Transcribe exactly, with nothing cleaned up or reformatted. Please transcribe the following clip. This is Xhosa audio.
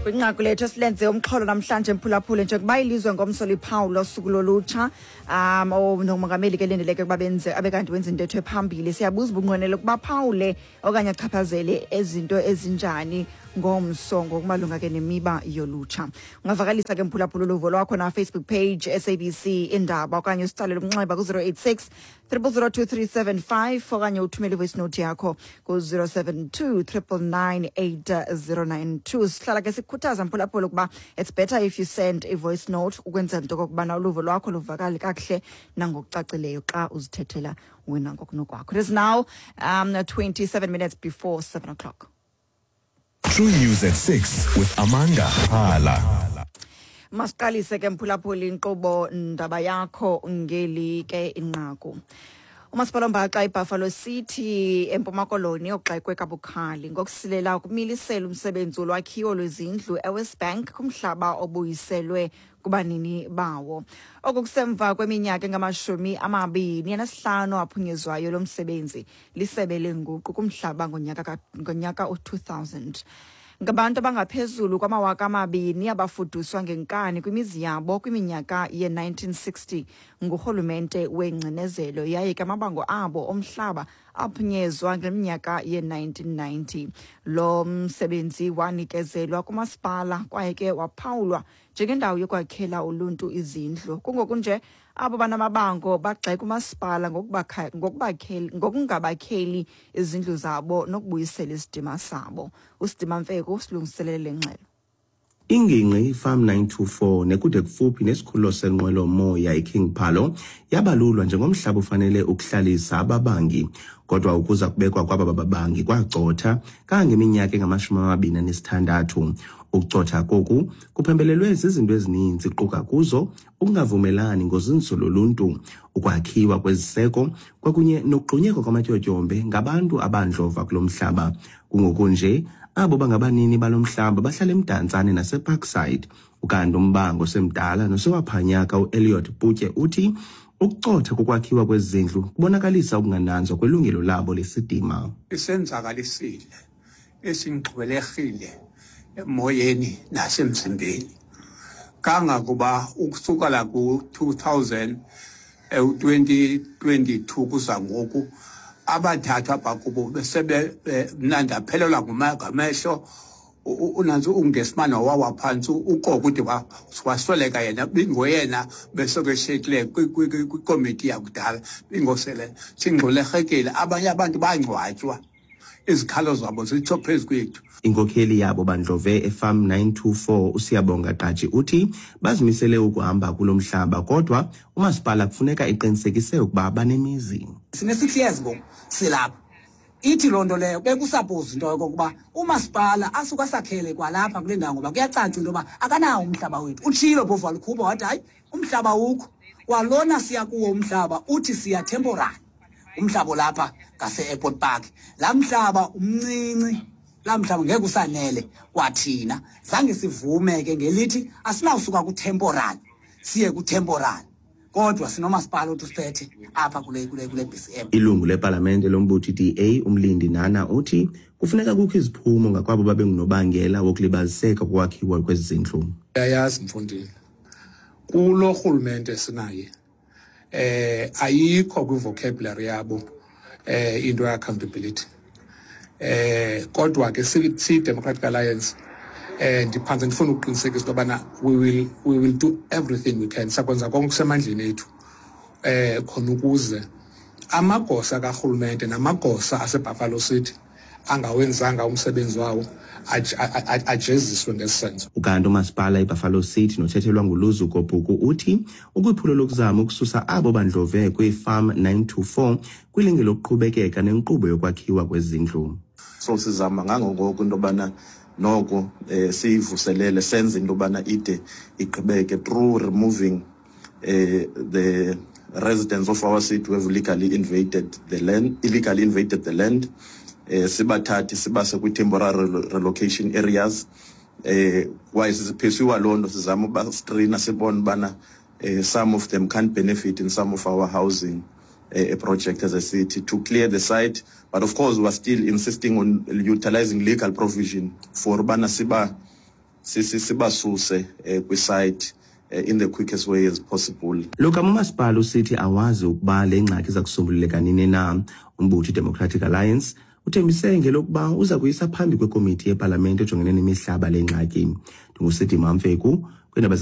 Kwinqaku lethu esilenze umxholo namhlanje, mphulaphuli, njengoba ilizwe ngomso liphawula usuku lolutsha, um nomongameli ke lindeleke ukuba benze abe kanti wenza intetho ephambili, siyabuza ubunqwenele ukuba phawule okanye achaphazele ezinto ezinjani ngomso ngokumalunga ke nemiba yolutsha. Ungavakalisa ke, mphulaphula, uluvo lwakho na Facebook page S A B C Indaba, okanye usitsalele umnxeba ku-zero eight six triple zero two three seven five, okanye uthumele ivoice note yakho ku-zero seven two triple nine eight zero nine two. Sihlala ke sikukhuthaza, mphulaphula, ukuba it's better if you send a voice note ukwenzela into okokubana uluvo lwakho luvakale kakuhle nangokucacileyo xa uzithethela wena ngokunokwakho. It is now um, twenty-seven minutes before seven o'clock. True News at six with Amanda Hala. Masiqalise ke, mphulaphuli, inkqubo ndaba yakho ngeli ke inqaku. Umasipala ombaxa iBuffalo City eMpuma Koloni ogxekwe kabukhali ngokusilela ukumilisela umsebenzi wolwakhiwo lwezindlu eWest Bank kumhlaba obuyiselwe kubanini bawo. Oku kusemva kweminyaka engamashumi amabini anesihlanu aphunyezwayo lo msebenzi lisebe lenguqu kumhlaba ngonyaka ka- ngonyaka u-two thousand. Ngabantu abangaphezulu kwamawaka amabini abafuduswa ngenkani kwimizi yabo kwiminyaka ye-nineteen sixty ngurhulumente wengcinezelo, yaye ke amabango abo omhlaba aphunyezwa ngeminyaka ye-nineteen ninety. Lo msebenzi wanikezelwa kumasipala kwaye ke waphawulwa njengendawo yokwakhela uluntu izindlu. Kungoku nje abo banamabango bagxeka umasipala ngokubakha- ngokubakheli- ngokungabakheli izindlu zabo nokubuyisela isidima sabo. USidima Mfeku silungiselele le ngxelo. Ingingqi iFarm nine two four nekude kufuphi nesikhululo senqwelo-moya iKing Phalo yabalulwa njengomhlaba ofanele ukuhlalisa ababangi, kodwa ukuza kubekwa kwaba babangi kwacotha kangangeminyaka engamashumi amabini anesithandathu. Ukucotha koku kuphembelelwe zizinto ezininzi, quka kuzo ukungavumelani ngozinzo loluntu, ukwakhiwa kweziseko kwakunye nokugxunyekwa kwamatyotyombe ngabantu abandlova kulo mhlaba. Kungoku nje abo bangabanini balo mhlaba bahlala eMdantsane naseParkside. Ukanti umbango osemdala nosewaphanyaka uElliot Putye uthi ukucotha kokwakhiwa kwezindlu kubonakalisa ukungananzwa kwelungelo labo lesidima. Isenzakalisile, esingxwelerhile emoyeni nasemzimbeni, kangakuba ukusukela ku-two thousand twenty twenty-two kuza ngoku abathathu apha kubo besebe mna ndaphelelwa ngamehlo. Unantsi ungesimane wawa phantsi ukoko ude wasweleka yena, bingoyena besekeshekile kwikomiti yakudala, bingosele singxwelerhekile. Abanye abantu bangcwatywa, izikhalo zabo zitsho phezu kwethu. Inkokheli yabo bandlove eFarm nine two four, uSiyabonga Gqaji, uthi bazimisele ukuhamba kulo mhlaba, kodwa umasipala kufuneka eqinisekise ukuba banemizi. Sine-six years ngoku silapha. Ithi loo nto leyo bekusapozi into yokokuba umasipala asuke asakhele kwalapha kule ndawo, ngoba kuyacaca into yoba akanawo umhlaba wethu. Utshilo phofu, walikhupha wathi hayi, umhlaba ukho kwalona siya kuwo umhlaba, uthi siya temporary umhlaba olapha ngase-Airport Park. Laa mhlaba umncinci, laa mhlaba ngeke usanele kwathina. Zange sivume ke ngelithi asinawusuka ku-temporary siye ku-temporary, kodwa sinomasipala othi usiphethe apha kule kule kule B C M. Ilungu lepalamente lombutho i-D A, uMlindi Nana, uthi kufuneka kukho iziphumo ngakwabo babengunobangela wokulibaziseka kokwakhiwa kwezi zindlu. Uyayazi mfondini, kulo rhulumente sinaye eh ayikho kwi-vocabulary yabo eh into ye-accountability. eh kodwa ke siyi-Democratic Alliance eh ndiphantse ndifuna ukuqinisekisa into yobana we will we will do everything we can, sakwenza konke kusemandleni ethu eh khona ukuze amagosa karhulumente namagosa aseBuffalo City angawenzanga umsebenzi wawo ajeziswe ngesi senzo. Ukanti umasipala iBuffalo City nothethelwa nguLuzuko Bhuku uthi ukwiphulo lokuzama ukususa abo bandlove kwiFarm nine two four kwilinge lokuqhubekeka nenkqubo yokwakhiwa kwezindlu. So sizama ngangongoko into yobana noko eh siyivuselele, senze into yobana ide igqibeke through removing eh the residents of our city who have legally invaded the land, illegally invaded the land, eh sibathathe sibase kwi-temporary relocation areas. eh kwaye siphesuwa loo nto, sizama uba strina sibone ubana eh some of them can't benefit in some of our housing uh, project as a city to clear the site. But of course we are still insisting on utilizing legal provision for ubana siba sibasuse eh, kwisite eh, in the quickest way as possible. Lo gama umasipala usithi awazi ukuba le ngxaki iza kusombululeka nini na. Umbutho iDemocratic Alliance uthembise ngelokuba uza kuyisa phambi kwekomiti yepalamente ejongene nemihlaba le ngxaki. NdinguSidima Mfeku kwiindaba.